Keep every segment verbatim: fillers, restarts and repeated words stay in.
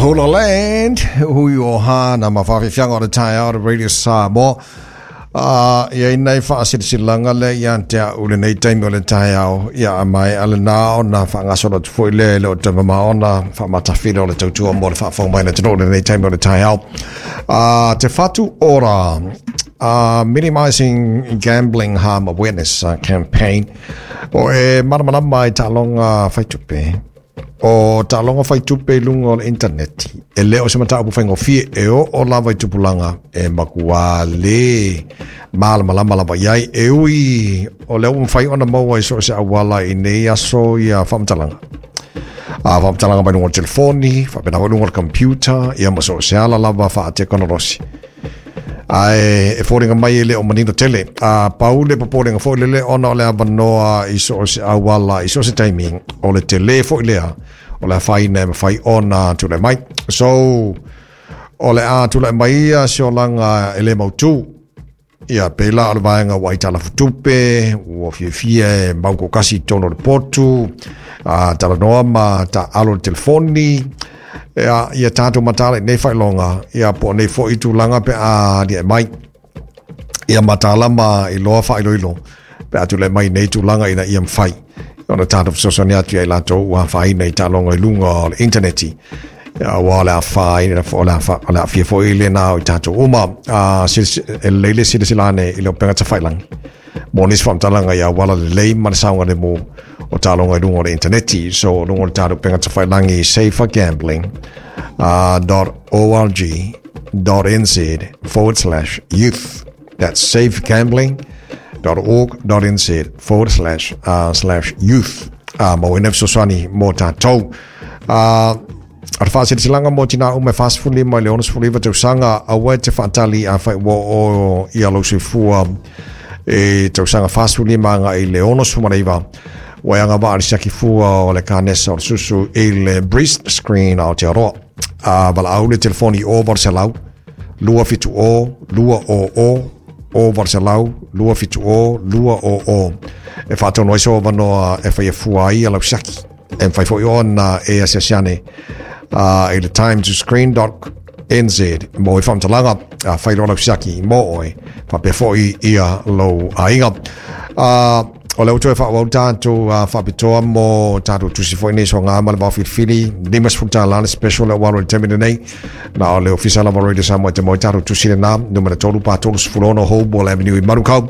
Hula Land, hui o hana ma whawhiwhianga o le taeao o Radio Samoa. Uh, ia inai whaasirisilanga le ia te a ule nei taimi o le taeao ia a mai ale nā o nā whaangasolo tu fui le le o te mama o nā whaamatawhira o le tautua mo le whaafong mai le tino le nei taimi o le taeao. Uh, te Whatu Ora, uh, Minimizing Gambling Harm Awareness uh, Campaign o e mana mai talonga whaitupe o talonga whaitupe lunga o le interneti e leo se mata upu whaingofie e o o lava i tupulanga e makua le malama lama lava iai e ui o leo mwhai ona maua i so se awala i nei aso ia whamtalanga. A whamtalanga mai lunga o telefoni, whapena wa lunga o computer, ia maso se ala lava wha a tekonolosi. Ai e fōringa mai e le o manino tele. A paule paporinga fō lele ona o le avanoa i so se awala, i so se taimi o le tele fō lea o le whaina e mawhai ona tule mai. So, o le a tule mai ia se olanga e le mautu. Ia pēla o le vaenga wa i tala futupe, ua fiafia e mauko kasi tono le potu, a tala noa ma ta alo le telefoni, ia, ia tātou matala i nei whailonga, ia po nei fo i tūlanga pe a lia mai. Ia matala ma i loa whailoilo, pe a tule mai nei tūlanga ina ia mwhai. Ona tātou fesoasoani atu ia i latou ua whaina i tālonga i lunga o le interneti. Ia ua o le a whaina, o le a fia fo i le nā o i tātou uma. E leile sila silane i leo penga tawhailangi. Mo nisi whamtalanga ia wala le lei ma le saunga le mo o tālonga i lunga o le interneti. So lunga o le tātou penga tawhailangi safergambling dot org dot nz forward slash youth. That's safegambling dot org dot nz forward slash uh, slash youth. Uh, mo ina fesoasoani mo tātou. Uh, Ar whaasirisilanga mo tina ume whaasifuli mai le onosifuli iwa tausaga aua e te whaatali a whai wa o ia lausefua e tausaga whaasifuli maga i le onosifumana iwa ua e agava'a le siaki fua o le kanesa o le susu i le breast screen Aotearoa. A valaau le telefoni o valu selau lua fitu o lua o o o valu selau lua fitu o lua o o e whaatono ai so vanoa e whai e fua ai a lausiaki e mwhai fo i ona e asiasiane uh, i le time to screen dot nz mo i whamtalanga uh, whai loa lausiaki mo oe whapea fo i ia lou aiga. Uh, o le utu e whaawau tātou uh, whapitoa mo tātou tusi fo i nei so ngā ma le wawhilifili lima sefulu tālā le special le walo le temine nei na o le ofisa lava Radio Samoa te mo i tātou tusi le nā numera tolu pa tolu sefulu ono Hoball Avenue i Manukau.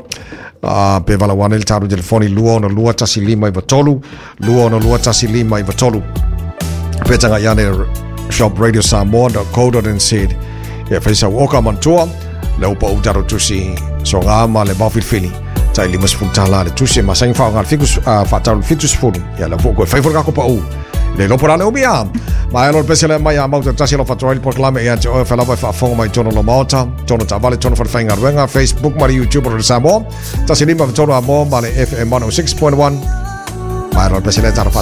Uh, pe vala wane le tātou telefoni lua ono lua tasi lima iwa tolu lua ono lua tasi lima iwa tolu pe tanga iane shop radio samoa dot co dot nz e whaisa uoka mantua le upa u tātou tusi so ngā ma le wawhilifili tai lima sefulu tālā le tusi e masangi whaonga le fikus uh, whaatau le fitu sefulu ia le fō koe whaifora kako pa u le lopo rale umia mai alo le pese le mai a mauta tasi lo whatoa i le porklame ia te oe whelawa e whaafonga mai tono lo maota tono tavale tono whalewhainga ruenga Facebook ma le YouTube o le Samoa tasi lima whatono a mo ma le F M one oh six point one mai alo le pese le taro